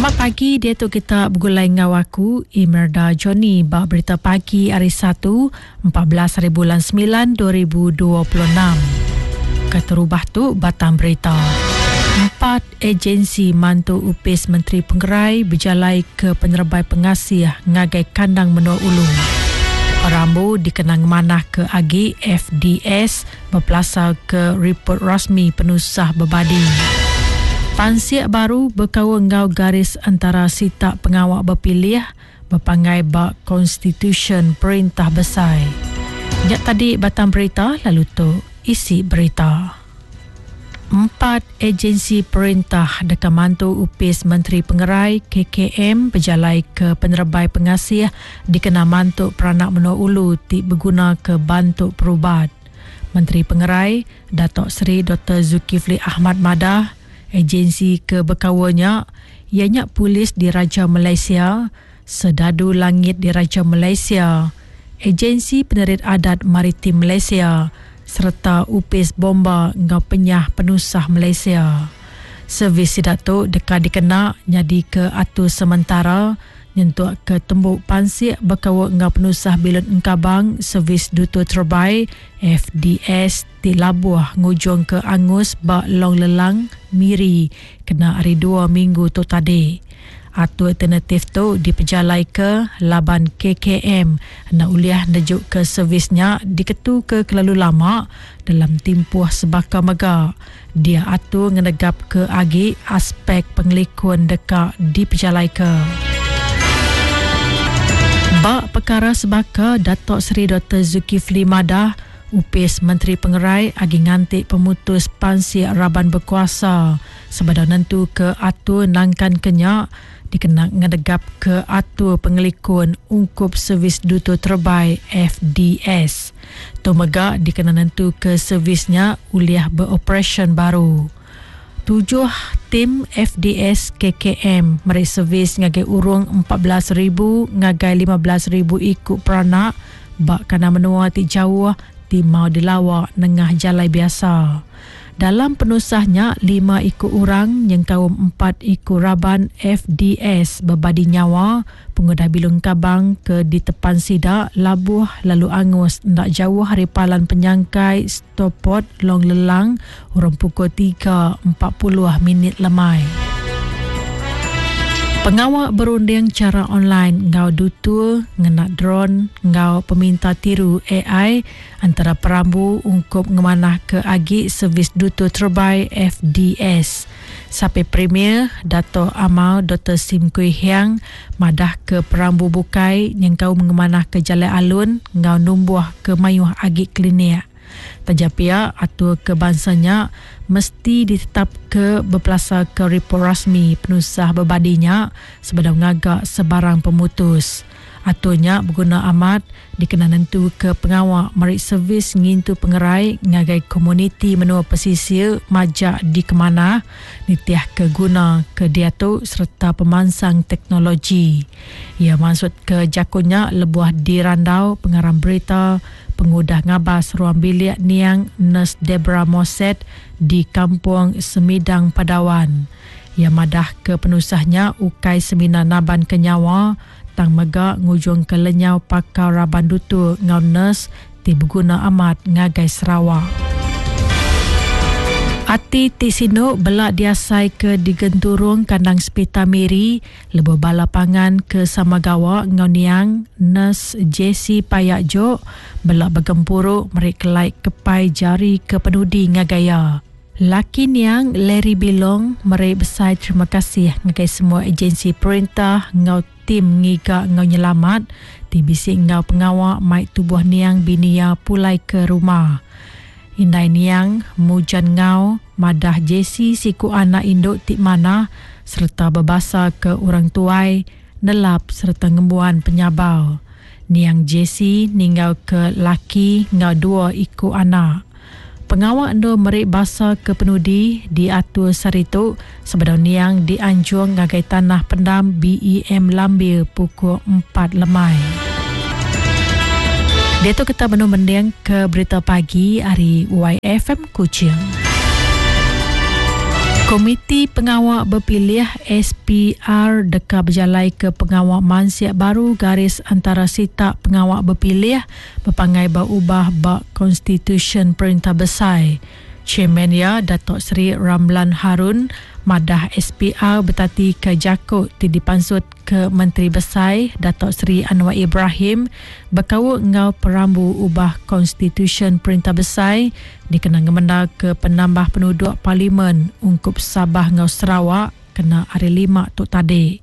Selamat pagi diatu kita begulai enggau aku Imerda Johnny ba berita pagi hari Satu 14 hari bulan 9 2026. Keterubah tu batang berita. Empat agensi mantu Opis Menteri Pengerai bejalai ke penerebai pengasih ngagai kandang menua ulu. Perambu dikena ngemanahka agi FDS Bepelasarka ripot rasmi penusah bebadi. Pansik baru bekaul enggau garis entara sitak pengawa bepilih bepanggai ba Konstitusyen Perintah Besai. Nya tadi batang berita lalu tu isi berita. Empat agensi perintah deka mantu Opis Menteri Pengerai, KKM, bejalaika penerebai pengasih dikena mantu peranak menua ulu ti begunaka bantu perubat. Menteri Pengerai, Datuk Seri Doktor Zulkifli Ahmad madah, agensi ke bekaul nya iya nya Polis Diraja Malaysia, Sedadu Langit Diraja Malaysia, Agensi Penerit Adat Maritim Malaysia sereta Opis Bomba enggau Penyah Penusah Malaysia. Servis sida tu deka dikena nyadika atur sementara Nyentuk ke tembu pansik bekaul enggau penusah bilun engkabang Servis Dutur Terebai, FDS, ti labuh ngujungka angus ba Long Lelang, Miri kena hari Dua minggu tu tadi. Atur alternatif tu dipejalaika laban KKM enda ulih nejuka servis nya diketuka kelalu lama dalam timpuh sebaka mega. Dia atur ngenegapka agi aspek pengelikun deka dipejalaika. Ba pekara sebaka, Datuk Seri Doktor Zulkifli madah, Opis Menteri Pengerai agi nganti pemutus pansik raban bekuasa sebedau nentuka atur nangkanka nya dikena ngenegapka atur pengelikun ungkup Servis Dutur Terebai, FDS. Tu mega dikena nentuka servis nya ulih beoperasyen baru. Tujuh tim FDS KKM meri servis ngagai urung 14,000 ngagai 15,000 iku peranak ba kandang menua ti jauh ti mau dilawa nengah jalai biasa. Dalam penusah nya, lima iku orang nyengkaum empat iku raban FDS bebadi nyawa Pengudah bilun kabang ke ditepan sida labuh lalu angus enda jauh ari palan penyangkai Stoport Long Lelang urung pukul 3.40 minit lemai. Pengawa berunding chara online enggau dutur ngena dron enggau peminta tiru ai entara perambu ungkup ngemanahka agi servis dutur terebai FDS. Sapit Premier, Datuk Amar Doktor Sim Kui Hiang madahka perambu bukai nyengkaum ngemanahka jalai alun enggau numbuhka mayuh agi klinik. Taja pia, atur ke bansa nya mesti ditetapka bepelasarka ripot rasmi penusah bebadi nya sebedau ngaga sebarang pemutus. Atur nya beguna amat dikena nentuka pengawa meri servis ngintu pengerai ngagai komuniti menua pesisir majak dikemanah nitihka guna ke diatu sereta pemansang teknologi. Iya mansutka jaku nya lebuh dirandau pengarang berita pengudah ngabas ruang bilik niang Nurse Debra Moset di Kampung Semidang Padawan. Iya madahka penusah nya ukai semina nabanka nyawa tang mega ngujungka lenyau pakar raban dutur enggau nurse ti beguna amat ngagai Sarawak. Ati ti sinu bela diasaika di genturung kandang sepital Miri lebuh bala pangan ke sama gawa enggau niang Nurse Jessie Payak Jok bela begempuru meri kelai kepai jari ke penudi ngagai iya. Laki niang Larry Bilong meri besai terima kasih ngagai semua ejensi perintah enggau tim ngiga enggau nyelamat ti bisi enggau pengawa mai tubuh niang bini iya pulai ke rumah. Indai niang, Mujan Ngau, madah Jessie siku anak indu ti manah sereta bebasaka orang tuai, nelap sereta ngembuan penyabar. Niang Jessie ninggalka laki enggau dua iku anak. Pengawa endur meri basa ke penudi diatur sehari tu sebedau niang dianjung ngagai Tanah Pendam BEM Lambir pukul empat lemai. Diatu kita benung mending ke berita pagi ari YFM Kuching. Komiti Pengawa Bepilih, SPR, deka bejalaika pengawa mansik baru garis antara sitak pengawa bepilih bepanggai ba ubah ba Konstitusyen Perintah Besai. Chairman iya, Datuk Seri Ramlan Harun madah SPR betatika jaku ti dipansutka Menteri Besai Datuk Seri Anwar Ibrahim bekaul enggau perambu ubah Konstitusyen Perintah Besai dikena ngemendarka penambah penuduk parlimen ungkup Sabah enggau Sarawak kena Hari Lima tu tadi.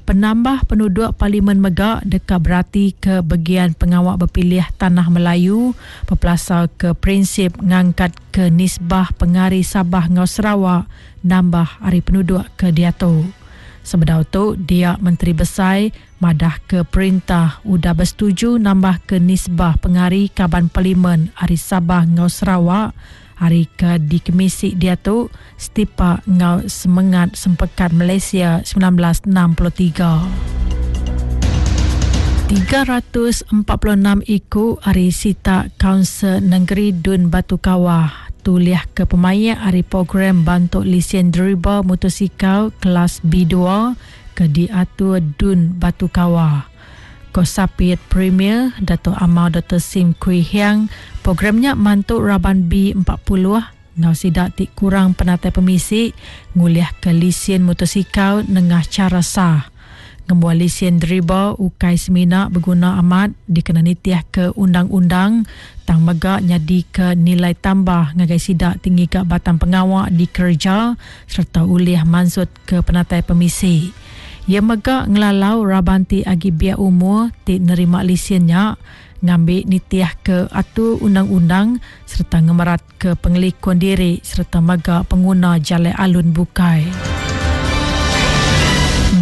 Penambah penuduk parlimen mega deka beratika begian pengawa bepilih Tanah Melayu bepelasarka prinsip ngangkatka nisbah pengari Sabah enggau Sarawak nambah ari penuduk ke diatu. Sebedau tu, dia Menteri Besai madahka perintah udah besetuju nambahka nisbah pengari kaban parlimen ari Sabah enggau Sarawak ari ke dikemisi diatu setipak enggau semengat Sempekat Malaysia 1963. 346 iku ari sitak Kaunsil Nengeri Dun Batu Kawah tulihka pemaik ari program bantu lisin deriba mutosikal kelas B dua ke diatur Dun Batu Kawah. Ko Sapit Premier Datuk Amar Doktor Sim Kui Hiang, program nya mantu raban B40 enggau sida ti kurang penatai pemisi ngulihka lisin mutosikal nengah chara sah. Ngembuan lisin deriba ukai semina beguna amat dikena nitihka undang-undang tang mega nyadika nilai tambah ngagai sida ti ngiga batang pengawa dikereja sereta ulih mansutka penatai pemisi. Iya mega ngelalau raban ti agi biak umur ti nerima lisin nya ngambi nitihka atur undang-undang sereta ngemeratka pengelikun diri sereta mega penguna jalai alun bukai.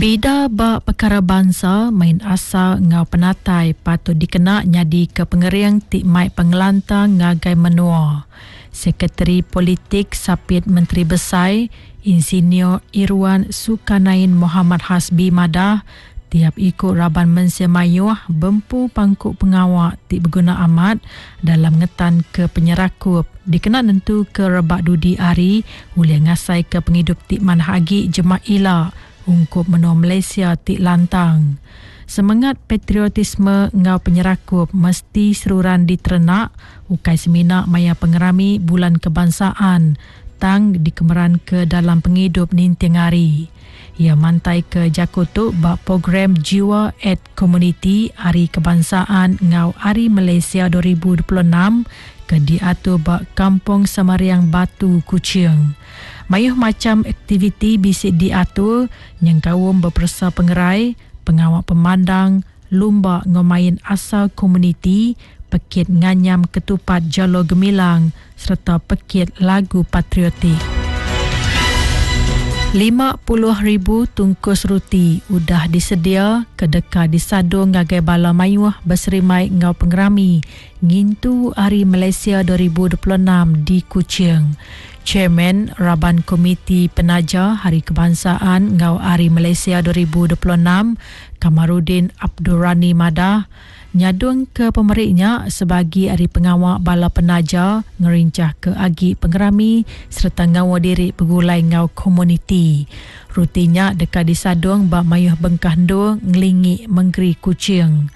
Bida ba pekara bansa, main asal enggau penatai patut dikena nyadika pengering ti mai pengelantang ngagai menua. Sekretari Politik Sapit Menteri Besai, Insinyur Irwan Sukanain Mohamad Hasbi madah, tiap iku raban mensia mayuh bempu pangku pengawa ti beguna amat dalam ngetanka penyerakup dikena nentuka rebak dudi hari ulih ngasaika pengidup ti manah agi jemah ila ungkup menua Malaysia ti lantang. Semengat patriotisme enggau penyerakup mesti seruran diterenak ukai semina maya pengerami Bulan Kebangsaan tang dikemeranka dalam pengidup ninting hari. Iya mantaika jaku tu ba program Jiwa at Komuniti Hari Kebangsaan enggau Hari Malaysia 2026 ke diatur ba Kampung Samariang Batu, Kuching. Mayuh macham aktiviti bisi diatur nyengkaum beperesa pengerai, pengawa pemandang, lumba enggau main asal komuniti, pekit nganyam ketupat Jalo Gemilang sereta pekit lagu patriotik. 50,000 tungkus ruti udah disedia ke deka disadung ngagai bala mayuh beserimai enggau pengerami ngintu Hari Malaysia 2026 di Kuching. Chairman Raban Komiti Penaja Hari Kebangsaan enggau Hari Malaysia 2026, Kamarudin Abdul Rani madah, nyadungka pemeri nya sebagi ari pengawa bala penaja ngerinchahka agi pengerami sereta ngaul diri begulai enggau komuniti. Ruti nya deka disadung ba mayuh bengkah endur ngelingi mengeri Kuching.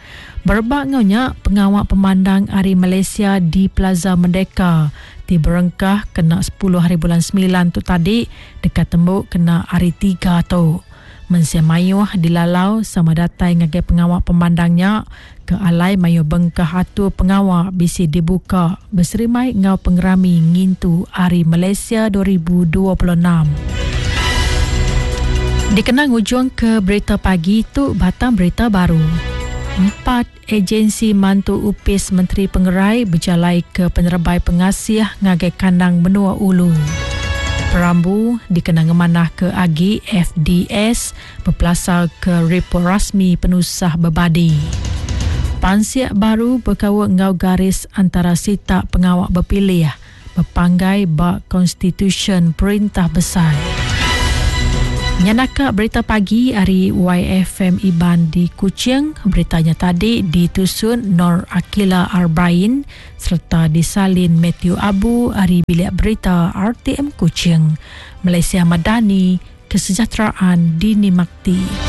Berebak enggau nya, pengawa pemandang ari Malaysia di Plaza Merdeka ti berengkah kena sepuluh hari bulan semilan tu tadi deka tembu kena hari Tiga tu. Mensia mayuh dilalau sama datai ngagai pengawa pemandang nya ke alai mayuh bengkah atur pengawa bisi dibuka beserimbai enggau pengerami ngintu Hari Malaysia 2026. Dikena ngujungka berita pagi tu batang berita baru. Empat agensi mantu Opis Menteri Pengerai bejalaika penerebai pengasih ngagai kandang menua ulu. Perambu dikena ngemanahka agi FDS bepelasarka ripot rasmi penusah bebadi. Pansik baru bekaul enggau garis antara sitak pengawa bepilih bepanggai ba Konstitusyen Perintah Besai. Nya naka berita pagi ari YFM Iban di Kuching. Berita nya tadi ditusun Nor Akila Arbain sereta disalin Matthew Abu ari Bilik Berita RTM Kuching. Malaysia Madani, Kesejahteraan Dinikmati.